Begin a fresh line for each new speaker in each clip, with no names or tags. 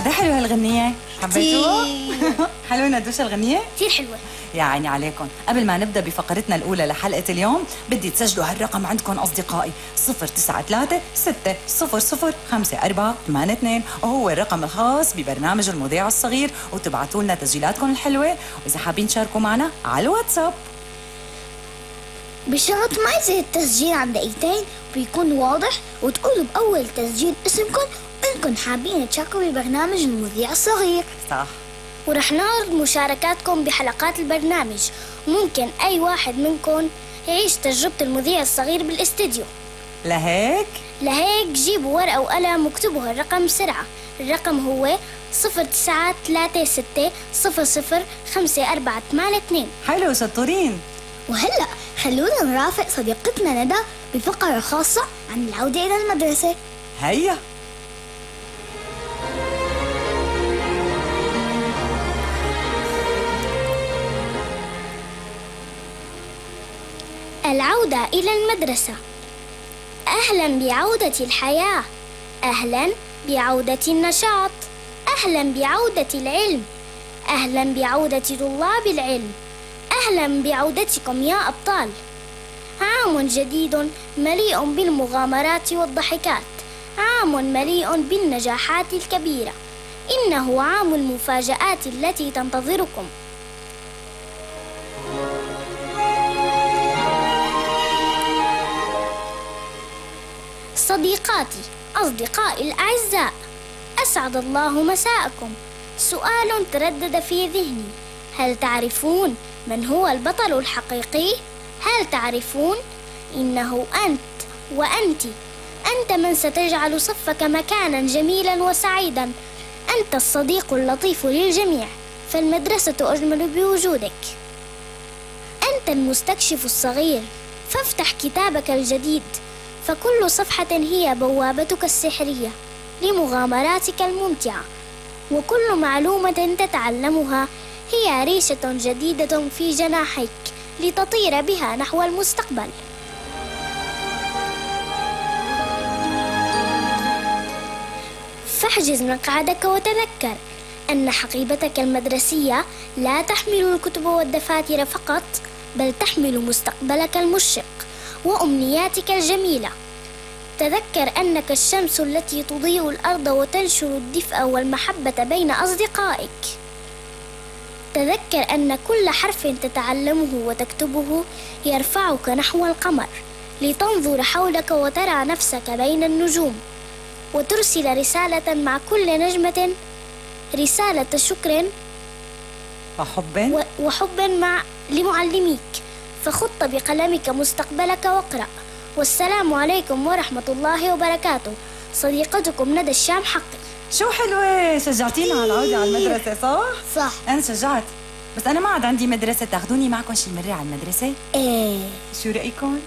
قد حلوة هالغنية؟ حبيتوها؟ حلوة ندوش الغنية؟
كثير حلوة.
يا عيني عليكم. قبل ما نبدأ بفقرتنا الأولى لحلقة اليوم بدي تسجلوا هالرقم عندكم أصدقائي 093-600-5482 وهو الرقم الخاص ببرنامج المذيع الصغير، وتبعتوا لنا تسجيلاتكم الحلوة، وإذا حابين تشاركوا معنا على الواتساب
بشرط ما يصير التسجيل عن دقيقتين ويكون واضح، وتقولوا بأول تسجيل اسمكم وإنكم حابين تشاركوا ببرنامج المذيع الصغير.
صح.
ورح نعرض مشاركاتكم بحلقات البرنامج، وممكن أي واحد منكم يعيش تجربة المذيع الصغير بالاستديو.
لهيك
جيبوا ورقة وقلم واكتبوا هالرقم بسرعة. الرقم هو 0936005482.
حلو، شطورين.
وهلأ خلونا نرافق صديقتنا ندى بفقرة خاصة عن العودة إلى المدرسة.
هيا.
العودة إلى المدرسة. أهلا بعودة الحياة، أهلا بعودة النشاط، أهلا بعودة العلم، أهلا بعودة طلاب العلم، أهلا بعودتكم يا أبطال. عام جديد مليء بالمغامرات والضحكات، عام مليء بالنجاحات الكبيرة، إنه عام المفاجآت التي تنتظركم. صديقاتي، أصدقائي الأعزاء، أسعد الله مساءكم. سؤال تردد في ذهني: هل تعرفون من هو البطل الحقيقي؟ هل تعرفون؟ إنه أنت وأنت. أنت من ستجعل صفك مكانا جميلا وسعيدا. أنت الصديق اللطيف للجميع، فالمدرسة أجمل بوجودك. أنت المستكشف الصغير، فافتح كتابك الجديد، فكل صفحة هي بوابتك السحرية لمغامراتك الممتعة، وكل معلومة تتعلمها هي ريشة جديدة في جناحيك لتطير بها نحو المستقبل. فاحجز مقعدك وتذكر أن حقيبتك المدرسية لا تحمل الكتب والدفاتر فقط، بل تحمل مستقبلك المشرق وأمنياتك الجميلة. تذكر أنك الشمس التي تضيء الأرض وتنشر الدفء والمحبة بين أصدقائك. تذكر أن كل حرف تتعلمه وتكتبه يرفعك نحو القمر، لتنظر حولك وترى نفسك بين النجوم، وترسل رسالة مع كل نجمة، رسالة شكر وحب لمعلميك. فخط بقلمك مستقبلك واقرأ. والسلام عليكم ورحمة الله وبركاته. صديقتكم ندى الشام حقي.
شو حلوة، شجعتينا على العودة على المدرسة. صح؟ أنا شجعت، بس أنا ما عاد عندي مدرسة. تاخذوني معكم شي مرة على المدرسة؟
إيه.
شو رأيكم؟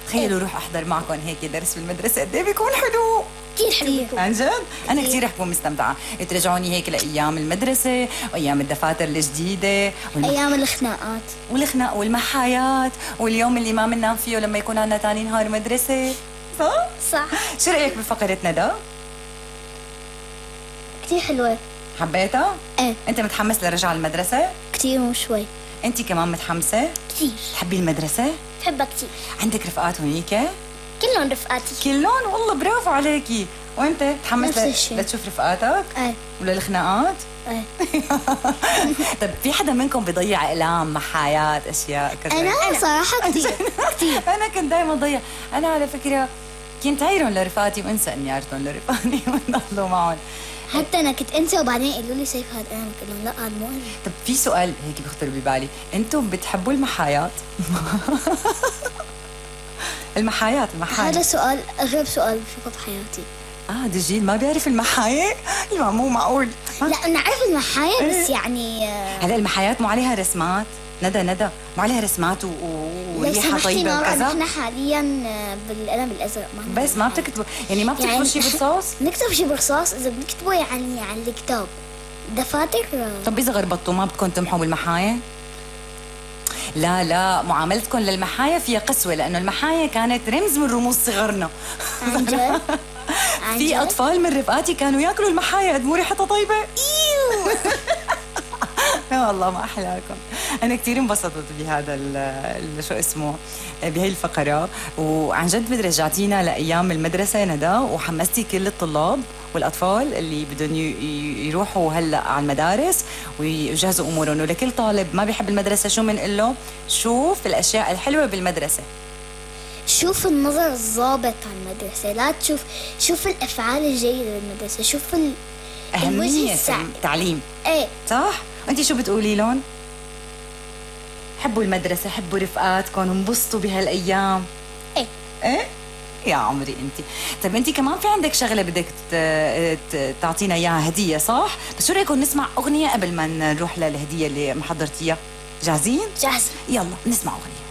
تخيلوا روح أحضر معكم هيك درس في المدرسة، قد إيه بيكون حلو.
كثير حلو.
عن جد؟ أنا كثير رح بكون مستمتعة. ترجعوني هيك لأيام المدرسة وأيام الدفاتر الجديدة
أيام الخناقات
والمحايات واليوم اللي ما بننام فيه لما يكون عندنا تاني نهار مدرسة.
صح.
شو رأيك بفقرتنا ده؟
كثير حلوة.
حبيتها؟
ايه.
أنت متحمس لرجع المدرسة؟
كثير مو شوي.
أنت كمان متحمسة؟
كثير.
تحبي المدرسة؟
بحبها كثير.
عندك رفقات هونيك؟
كلهم رفقاتي.
كلهم؟ والله برافو عليكي. وانت متحمس لتشوف رفقاتك؟
ايه.
ولا الخناقات؟
ايه.
طيب في حدا منكم بيضيع اقلام، محايات، اشياء كذا؟
انا صراحه كثير.
انا كنت دائما ضيع. انا على فكره كنت عايرهم لرفقاتي وانسى اني عيرتهم لرفقاتي ونضلوا معهم.
حتى انا كنت انسى وبعدين قالوا لي سيف هذا، انا قلت لهم لا هذا مو.
طب في سؤال هيك بيخطر ببالي، انتم بتحبوا المحايات؟ المحايات.
هذا سؤال أغرب سؤال بشوفه بحياتي.
دجيل ما بيعرف المحاية؟ لا مو معقول.
لا نعرف المحاية بس يعني
هلا المحايات مو عليها رسمات؟ ندى مو عليها رسمات وريحة طيبة وكذا؟
نحن حاليا بالقلم الأزرق
بس ما بتكتبوا يعني ما بتكتبوا شيء برصاص؟
نكتب شيء برصاص إذا بنكتبه يعني على الكتاب دفاتر.
طب إذا غربطتوا ما بدكم تمحوا بالمحاية؟ لا معاملتكم للمحايا فيها قسوة، لأنه المحايا كانت رمز من رموز صغرنا.
عن جد؟
في أطفال من رفقاتي كانوا ياكلوا المحايا قد مو ريحتها طيبة.
ايوه.
يا والله ما أحلاكم. أنا كتير انبسطت بهذا شو اسمه بهي الفقرة، وعن جد بدي رجعتينا لأيام المدرسة ندى، وحمستي كل الطلاب والأطفال اللي بدهم يروحوا هلأ على المدارس ويجهزوا أمورهم. ولكل طالب ما بيحب المدرسة شو منقول له؟ شوف الأشياء الحلوة بالمدرسة،
شوف النظر الضابط على المدرسة، لا شوف الأفعال الجيدة بالمدرسة، شوف
أهمية التعليم.
ايه
صح؟ أنت شو بتقولي لهم؟ حبوا المدرسة، حبوا رفقاتكم، انبسطوا بهالأيام. ايه يا عمري انت. طيب انت كمان في عندك شغله بدك تعطينا اياها، هديه صح؟ بس شو رايكم نسمع اغنيه قبل ما نروح للهديه اللي محضرتيها؟ جاهزين؟
جاهزين.
يلا نسمع اغنيه.